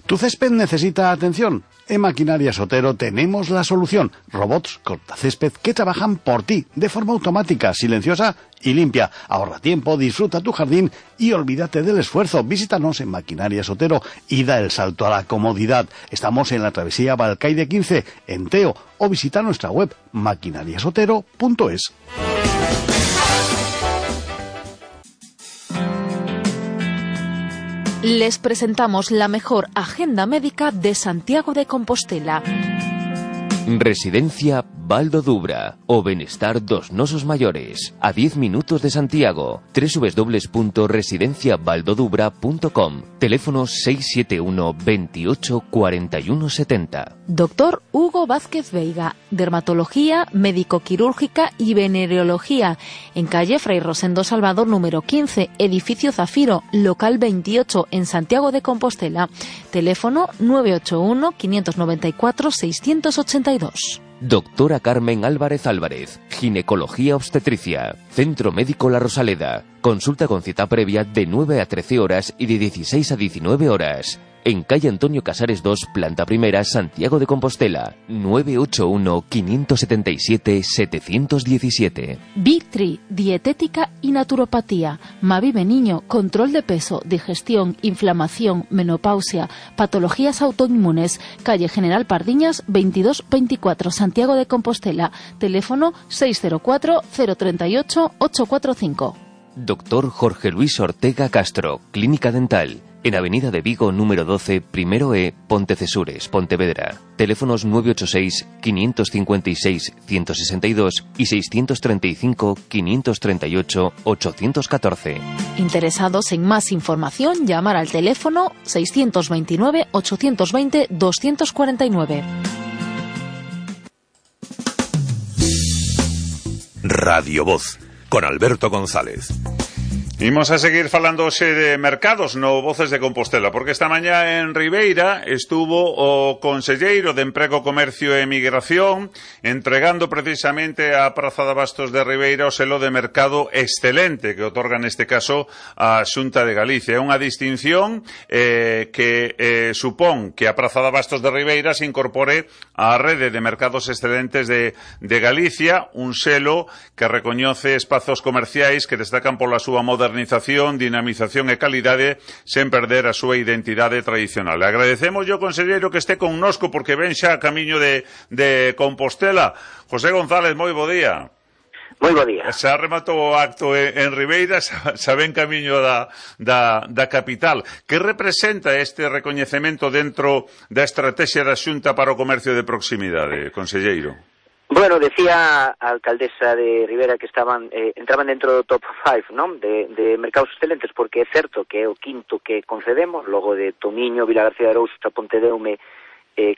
¿Tu césped necesita atención? En Maquinarias Otero tenemos la solución. Robots cortacésped que trabajan por ti, de forma automática, silenciosa y limpia. Ahorra tiempo, disfruta tu jardín y olvídate del esfuerzo. Visítanos en Maquinarias Otero y da el salto a la comodidad. Estamos en la travesía Balcaide 15, en Teo, o visita nuestra web maquinariasotero.es. Les presentamos la mejor agenda médica de Santiago de Compostela. Residencia Baldo Dubra o Benestar dos Nosos Mayores, a 10 minutos de Santiago. www.residenciabaldodubra.com. Teléfono 671 28 41 70. Doctor Hugo Vázquez Veiga, dermatología, médico-quirúrgica y venereología, en calle Fray Rosendo Salvador número 15, edificio Zafiro, local 28, en Santiago de Compostela. Teléfono 981 594 682. Doctora Carmen Álvarez Álvarez, ginecología obstetricia, Centro Médico La Rosaleda. Consulta con cita previa de 9 a 13 horas y de 16 a 19 horas. En calle Antonio Casares 2, planta primera, Santiago de Compostela. 981-577-717. Vitri, dietética y naturopatía. Mavive Niño, control de peso, digestión, inflamación, menopausia, patologías autoinmunes. Calle General Pardiñas, 2224, Santiago de Compostela. Teléfono 604-038-845. Doctor Jorge Luis Ortega Castro, Clínica Dental. En Avenida de Vigo, número 12, primero E, Pontecesures, Pontevedra. Teléfonos 986-556-162 y 635-538-814. Interesados en más información, llamar al teléfono 629-820-249. Radio Voz, con Alberto González. Imos a seguir falando hoxe de mercados no Voces de Compostela, porque esta mañá en Ribeira estuvo o conselleiro de Emprego, Comercio e Migración entregando precisamente a Praza de Abastos de Ribeira o selo de mercado excelente que otorga neste caso a Xunta de Galicia. É unha distinción que supón que a Praza de Abastos de Ribeira se incorpore á rede de mercados excelentes de Galicia, un selo que recoñece espazos comerciais que destacan pola súa modernización, dinamización e calidade sen perder a súa identidade tradicional. Agradecemos ao conselleiro que este connosco porque ven xa a camiño de Compostela. José González, moi bo día. Moi bo día. Xa rematou o acto en Ribeira, xa ven camiño da capital. Que representa este recoñecemento dentro da estrategia da Xunta para o comercio de proximidade, conselleiro? Bueno, decía a alcaldesa de Ribera que entraban dentro do top 5, non? De mercados excelentes, porque é certo que é o quinto que concedemos, logo de Tomiño, Vila García de Arousa, Pontedeume,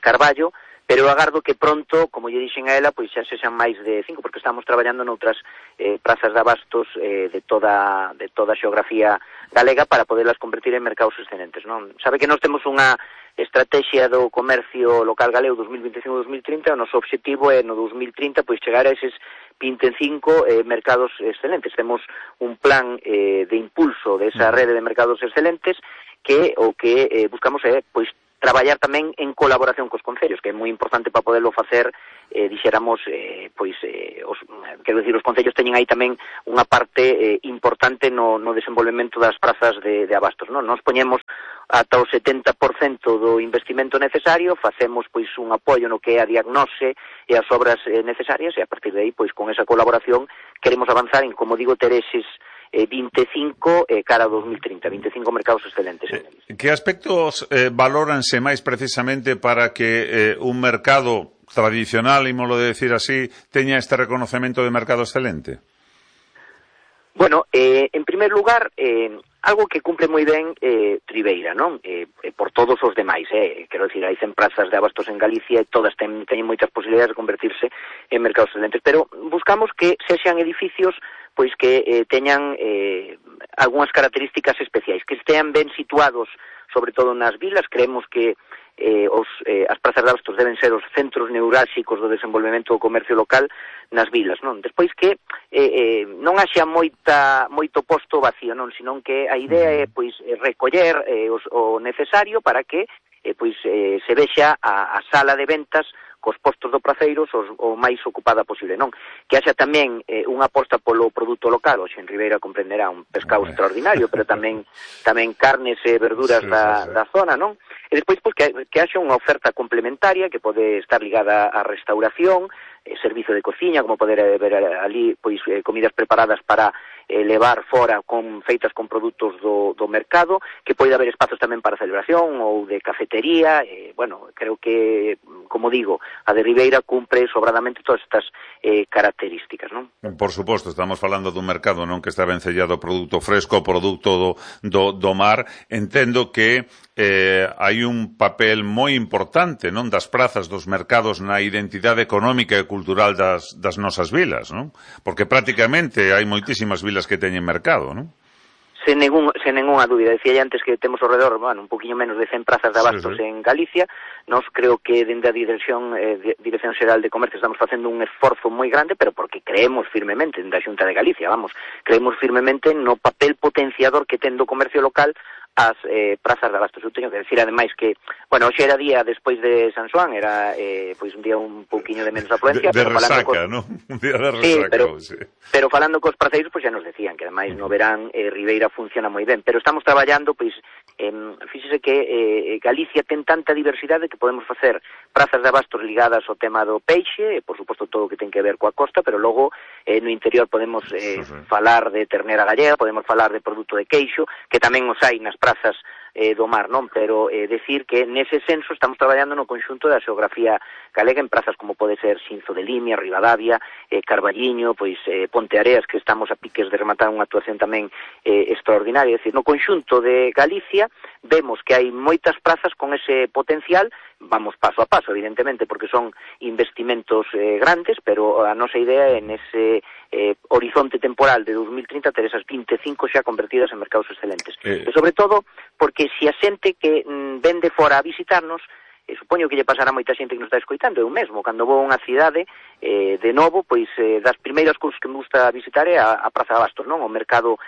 Carballo, pero agardo que pronto, como lle dixen a ela, pois xa sexan máis de 5, porque estamos traballando noutras prazas de abastos de toda a xeografía galega para poderlas convertir en mercados excelentes, non? Sabe que nós temos unha estrategia do comercio local galego 2025-2030, o noso objetivo é no 2030 pois chegar a eses 25 mercados excelentes. Temos un plan de impulso desa rede de mercados excelentes que o que buscamos é pois traballar tamén en colaboración cos concellos, que é moi importante para poderlo facer, dixéramos, quero dicir, os concellos teñen aí tamén unha parte importante no desenvolvemento das prazas de abastos, non? Nos poñemos ata o 70% do investimento necesario, facemos pois un apoio no que é a diagnose e as obras necesarias, e a partir de aí, pois con esa colaboración, queremos avanzar en, como digo, ter eses 25 cara a 2030, 25 mercados excelentes. Que aspectos valóranse máis precisamente para que un mercado tradicional, ímolo de decir así, teña este reconocemento de mercado excelente? Bueno, en primer lugar, algo que cumple moi ben Ribeira, non? Por todos os demais, quero dicir, hai 100 prazas de abastos en Galicia e todas teñen moitas posibilidades de convertirse en mercados excelentes, pero buscamos que sexan edificios pois que teñan algunhas características especiais, que estean ben situados, sobre todo nas vilas. Creemos que as prazas de abastos deben ser os centros neurálxicos do desenvolvemento do comercio local nas vilas, non? Despois que non haxa moito posto vacío, non? Senón que a idea é pois recoller o necesario para que pois se vexa a sala de ventas cos postos do Praceiros o máis ocupada posible, non? Que haxa tamén unha aposta polo produto local, hoxe en Ribeira comprenderá un pescado extraordinario, pero tamén carnes e verduras da zona, non? E despois, pois, que haxa unha oferta complementaria que pode estar ligada á restauración, servizo de cociña, como poder ver ali, pois, comidas preparadas para levar fora feitas con produtos do mercado, que pode haber espazos tamén para celebración ou de cafetería, bueno, creo que, como digo, a de Ribeira cumpre sobradamente todas estas características, non? Por suposto, estamos falando dun mercado non que está vencellado produto fresco, produto do mar. Entendo que hai un papel moi importante, non, das prazas, dos mercados na identidade económica e cultural das nosas vilas, non? Porque prácticamente hai moitísimas vilas que teñen mercado, non? Sen ninguna dúbida. Decía antes que temos ao redor, bueno, un poquinho menos de 100 prazas de abastos en Galicia. Nos creo que dende a Dirección Xeral de Comercio estamos facendo un esforzo moi grande, pero porque creemos firmemente dende a Xunta de Galicia, creemos firmemente no papel potenciador que ten do comercio local as prazas de abastos. Eu teño que decir, ademais, que, bueno, hoxe era día despois de San Xoán, era pois un día un pouquiño de menos afluencia, de resaca, non? Un día de resaca, pero falando cos praceiros, pois xa nos decían que ademais no verán Ribeira funciona moi ben, pero estamos traballando, pois, fíxese que Galicia ten tanta diversidade que podemos facer prazas de abastos ligadas ao tema do peixe, por suposto todo o que ten que ver coa costa, pero logo no interior podemos falar de ternera gallega, podemos falar de produto de queixo, que tamén os hai nas prazas do mar, non? Pero decir que nese senso estamos traballando no conxunto da xeografía galega en prazas como pode ser Xinzo de Limia, Ribadavia, Carballiño, pois Ponte Areas, que estamos a piques de rematar unha actuación tamén extraordinaria. É dicir, no conxunto de Galicia vemos que hai moitas prazas con ese potencial. Vamos paso a paso, evidentemente, porque son investimentos grandes, pero a nosa idea é nese horizonte temporal de 2030 ter esas 25 xa convertidas en mercados excelentes. E sobre todo, porque se a xente que vende fora a visitarnos, supoño que lle pasará moita xente que nos está escoitando, eu mesmo, cando vou a unha cidade, de novo, pois das primeiras cousas que me gusta visitar é a Praza de Abastos, non? O mercado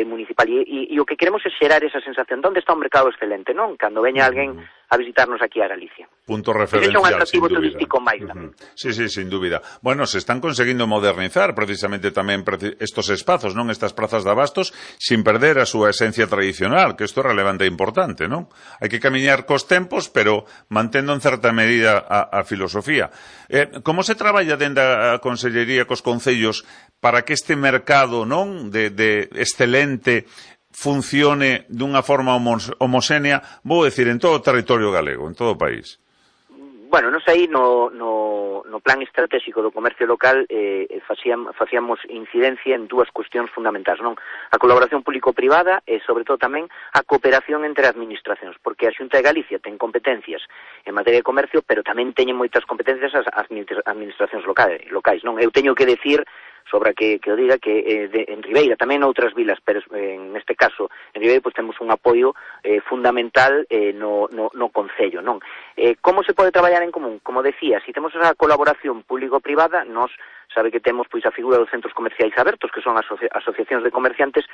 municipal, e o que queremos é xerar esa sensación de onde está un mercado excelente, non? Cando veña alguén a visitarnos aquí a Galicia. Punto referencial, un atractivo turístico máis tamén. Sí, sin dúbida. Bueno, se están conseguindo modernizar precisamente tamén estos espazos, non? Estas prazas de abastos, sin perder a súa esencia tradicional, que isto é relevante e importante, non? Hai que camiñar cos tempos, pero mantendo en certa medida a filosofía. Como se traballa dende a Consellería cos concellos para que este mercado, non, de excelente funcione dunha forma homoxénea, vou decir, en todo o territorio galego, en todo o país? Bueno, nos aí no plan estratégico do comercio local facíamos incidencia en dúas cuestións fundamentais, non? A colaboración público-privada e, sobre todo, tamén a cooperación entre administracións, porque a Xunta de Galicia ten competencias en materia de comercio, pero tamén teñen moitas competencias as administracións locais, non? Eu teño que decir, sobra que o diga, que en Ribeira, tamén en outras vilas, pero en este caso, en Ribeira, pues temos un apoio fundamental no Concello, non? Como se pode traballar en común? Como decía, se temos esa colaboración público-privada, nos sabe que temos pois a figura dos centros comerciais abertos, que son asociacións de comerciantes.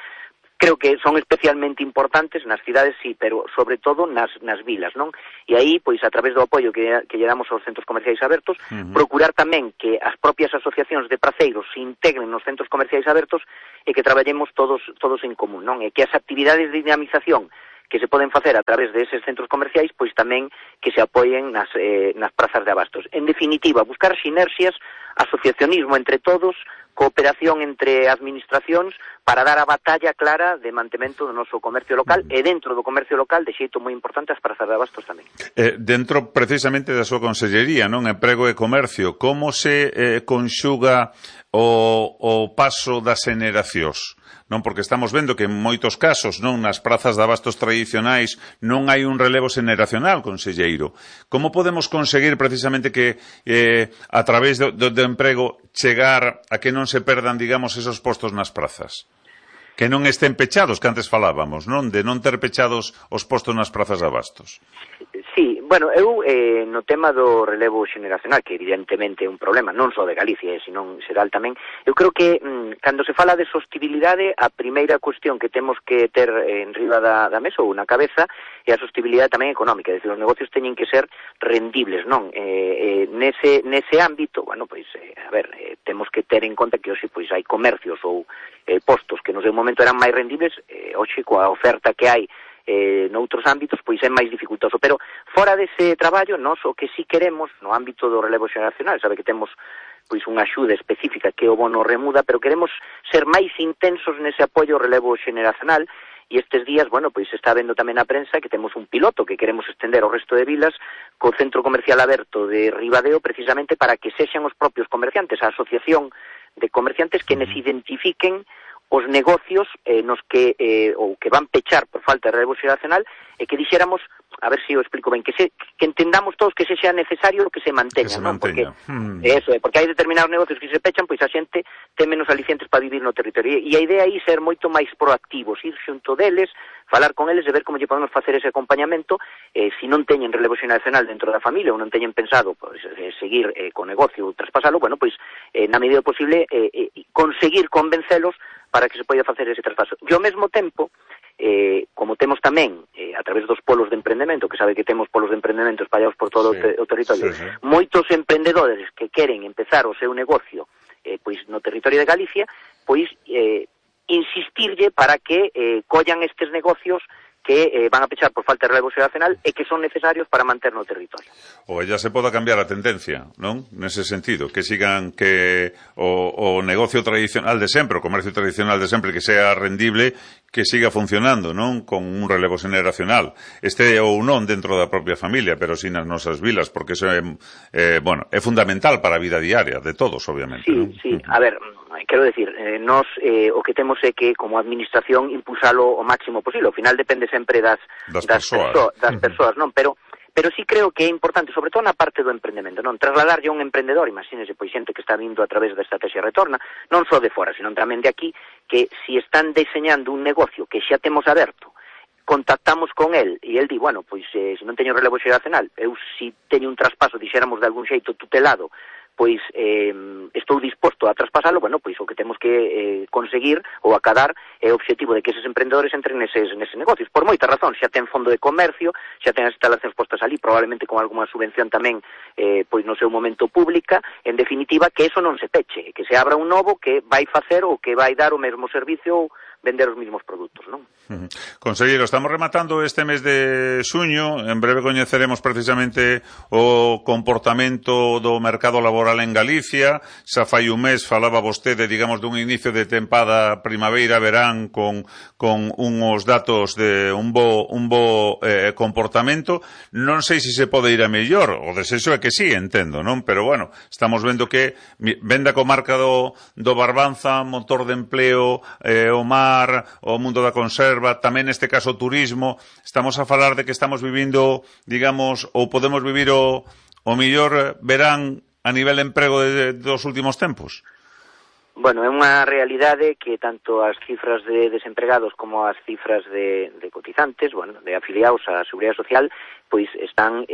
Creo que son especialmente importantes nas cidades, sí, pero sobre todo nas vilas, non? E aí, pois, a través do apoio que lle damos aos centros comerciais abertos, procurar tamén que as propias asociacións de praceiros se integren nos centros comerciais abertos e que traballemos todos en común, non? E que as actividades de dinamización que se poden facer a través de eses centros comerciais, pois tamén que se apoien nas prazas de abastos. En definitiva, buscar sinerxias, asociacionismo entre todos, cooperación entre administracións para dar a batalla clara de mantemento do noso comercio local e dentro do comercio local, de xeito moi importante, as prazas de abastos tamén. Dentro precisamente da súa consellería, non? Emprego e comercio, como se conxuga o paso das xeneracións? Non, porque estamos vendo que en moitos casos, non, nas prazas de abastos tradicionais non hai un relevo xeneracional, conselleiro. Como podemos conseguir precisamente que a través do emprego chegar a que non se perdan, digamos, esos postos nas prazas? Que non estén pechados, que antes falábamos, non? De non ter pechados os postos nas prazas de abastos. Sí, bueno, eu no tema do relevo xeneracional, que evidentemente é un problema, non só de Galicia, senón xeral tamén, eu creo que cando se fala de sostibilidade, a primeira cuestión que temos que ter en riba da mesa ou na cabeza é a sostibilidade tamén económica, é dicir, os negocios teñen que ser rendibles, non? Nese ámbito, bueno, pois, temos que ter en conta que hoxe pois hai comercios ou postos que no seu momento eran máis rendibles, hoxe coa oferta que hai noutros ámbitos, pois é máis dificultoso. Pero fora dese traballo, nós o que sí queremos no ámbito do relevo xeracional, sabe que temos pois unha axuda específica que é o bono remuda, pero queremos ser máis intensos nese apoio ao relevo xeracional, e estes días, bueno, pois está vendo tamén na prensa que temos un piloto que queremos estender ao resto de vilas co Centro Comercial Aberto de Ribadeo, precisamente para que sexan os propios comerciantes, a asociación de comerciantes que nos identifiquen os negocios nos que ou que van pechar por falta de relevo xeracional e que dixéramos, a ver se o explico ben, que entendamos todos que sexa necesario que se manteña, non? Porque porque hai determinados negocios que se pechan, pois a xente ten menos alicientes para vivir no territorio, e a idea aí ser moito máis proactivos, ir xunto deles, falar con eles e ver como lle podemos facer ese acompañamento, se non teñen relevo xeracional dentro da familia ou non teñen pensado pois, seguir co negocio ou traspasalo, bueno, pois na medida posible conseguir convencelos para que se poida facer ese traspaso. E ao mesmo tempo, como temos tamén, a través dos polos de emprendemento, que sabe que temos polos de emprendemento espallados por todo o territorio, moitos emprendedores que queren empezar o seu negocio pois no territorio de Galicia, pois insistirlle para que collan estes negocios que van a pechar por falta de relevo xeracional e que son necesarios para manter no territorio. Ou ya se poda cambiar a tendencia, non? Nese sentido, que sigan que o negocio tradicional de sempre, o comercio tradicional de sempre, que sea rendible, que siga funcionando, non? Con un relevo xeracional. Ou non dentro da propia familia, pero sin as nosas vilas, porque eso é fundamental para a vida diaria de todos, obviamente. Sí. A ver, quero decir, nós o que temos é que, como administración, impulsalo o máximo posible. Ao final depende sempre das persoas, non? Pero sí creo que é importante, sobre todo na parte do emprendemento, non? Trasladarlle a un emprendedor, imagínese, pois xente que está vindo a través da estrategia retorna, non só de fora, senón tamén de aquí, que si están deseñando un negocio que xa temos aberto, contactamos con el e el di, bueno, pois se non teño relevo xeracional, eu si teño un traspaso, dixéramos de algún xeito tutelado, pois estou disposto a traspasalo, bueno, pois o que temos que conseguir ou acadar é o obxectivo de que eses emprendedores entren neses negocios, por moita razón, xa ten fondo de comercio, xa ten as instalacións postas ali, probablemente con alguma subvención tamén, pois no seu momento pública, en definitiva, que eso non se peche, que se abra un novo que vai facer ou que vai dar o mesmo servicio ou vender os mesmos produtos, non? Conselleiro, estamos rematando este mes de xuño, en breve coñeceremos precisamente o comportamento do mercado laboral en Galicia. Xa fai un mes falaba vostede, digamos, dun inicio de tempada primavera-verán con uns datos de un bo comportamento. Non sei se se pode ir a mellor, o desexo é que sí, entendo, non? Pero bueno, estamos vendo que vende a comarca do Barbanza, motor de empleo, o mar, o mundo da conserva, tamén neste caso o turismo. Estamos a falar de que estamos vivindo, digamos, ou podemos vivir o mellor verán a nivel de emprego dos últimos tempos? Bueno, é unha realidade que tanto as cifras de desempregados como as cifras de cotizantes, bueno, de afiliados á Seguridade Social, pois están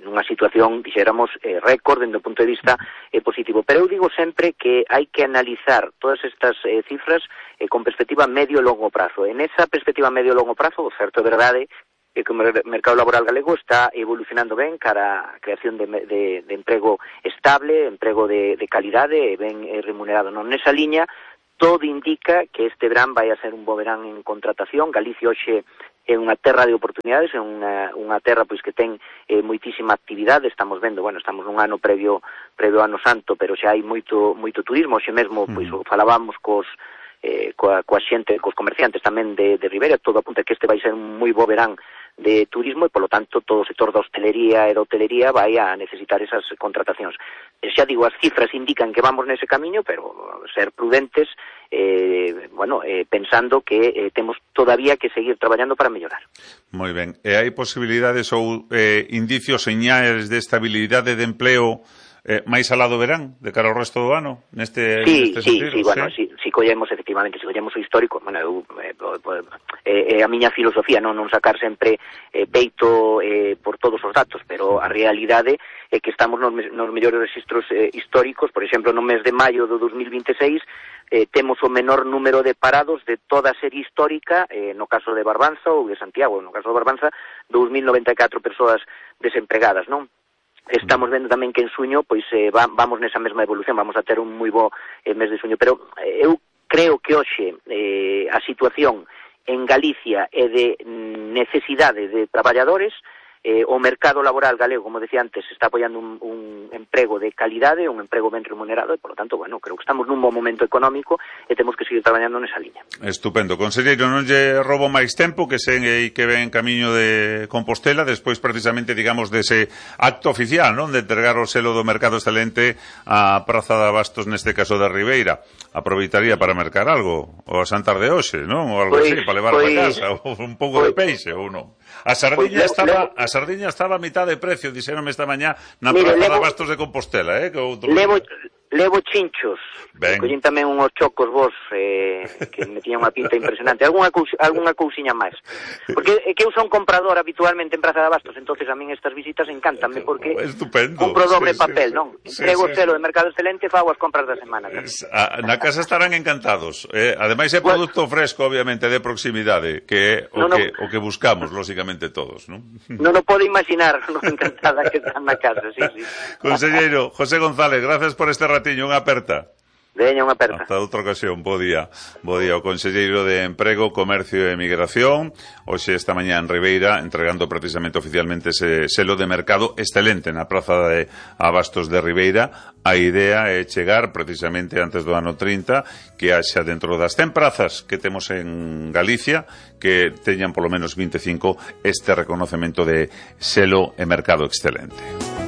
nunha situación, dixéramos, récord dende o punto de vista positivo. Pero eu digo sempre que hai que analizar todas estas cifras con perspectiva medio e longo prazo. En esa perspectiva medio e longo prazo, o certo é verdade que o mercado laboral galego está evolucionando ben cara a creación de emprego estable, emprego de calidade e ben remunerado. Non nesa liña, todo indica que este verán vai a ser un bo verán en contratación. Galicia hoxe é unha terra de oportunidades, é unha terra pois que ten moitísima actividade. Estamos vendo, bueno, estamos nun ano previo ano santo, pero xa hai moito turismo. Hoxe mesmo pois falábamos coa xente, cos comerciantes tamén de Ribeira, todo apunta que este vai ser un moi bo verán de turismo e, polo tanto, todo o sector da hostelería e da hotelería vai a necesitar esas contratacións. Xa digo, as cifras indican que vamos nese camiño, pero ser prudentes, pensando que temos todavía que seguir traballando para mellorar. Moi ben. E hai posibilidades ou indicios, señales de estabilidade de empleo máis alado verán de cara ao resto do ano neste sentido? Bueno, si collemos efectivamente, si collemos o histórico, bueno, a miña filosofía non sacar sempre peito por todos os datos, pero a realidade é que estamos nos mellores registros históricos. Por exemplo, no mes de maio do 2026 temos o menor número de parados de toda a serie histórica, no caso de Barbanza ou de Santiago. No caso de Barbanza, 2.094 persoas desempregadas, non? Estamos vendo tamén que en suño pois vamos nesa mesma evolución, vamos a ter un moi bo mes de suño, pero eu creo que hoxe a situación en Galicia é de necesidade de traballadores. O mercado laboral galego, como decía antes, está apoiando un emprego de calidade, un emprego ben remunerado, e, por lo tanto, bueno, creo que estamos nun bom momento económico e temos que seguir traballando nesa liña. Estupendo. Conselleiro, non lle roubo máis tempo, que sei que ven camiño de Compostela, despois precisamente, digamos, dese acto oficial, non? De entregar o selo do mercado excelente á Praza de Abastos, neste caso de Ribeira. Aproveitaría para mercar algo, o a Santar de hoxe, non? Ou algo así, para levar para casa, ou un pouco de peixe, ou non? A sardiña estaba a mitad de precio, dixéronme esta mañá na Praza de Abastos de Compostela, que outro... Levo chinchos, collín tamén unhos chocos vos que me tiñan unha pinta impresionante, algunha cousiña máis, porque é que eu son comprador habitualmente en Praza de Abastos, entonces a min estas visitas encantanme, porque compro doble papel, non? Entrego o selo de mercado excelente e fago as compras da semana. Na casa estarán encantados, ademais é produto fresco, obviamente, de proximidade, que é o que buscamos, lóxicamente, todos, non? Non o podo imaginar, non encantada que están na casa, sí. Conselleiro José González, gracias por este ratiño, unha aperta. Veña, unha aperta. Hasta outra ocasión, bo día. Bo día, o Conselleiro de Emprego, Comercio e Migración, hoxe esta mañá en Ribeira, entregando precisamente oficialmente ese selo de mercado excelente na Praza de Abastos de Ribeira. A idea é chegar precisamente antes do ano 30, que haxa dentro das 100 prazas que temos en Galicia, que teñan polo menos 25 este reconocemento de selo e mercado excelente.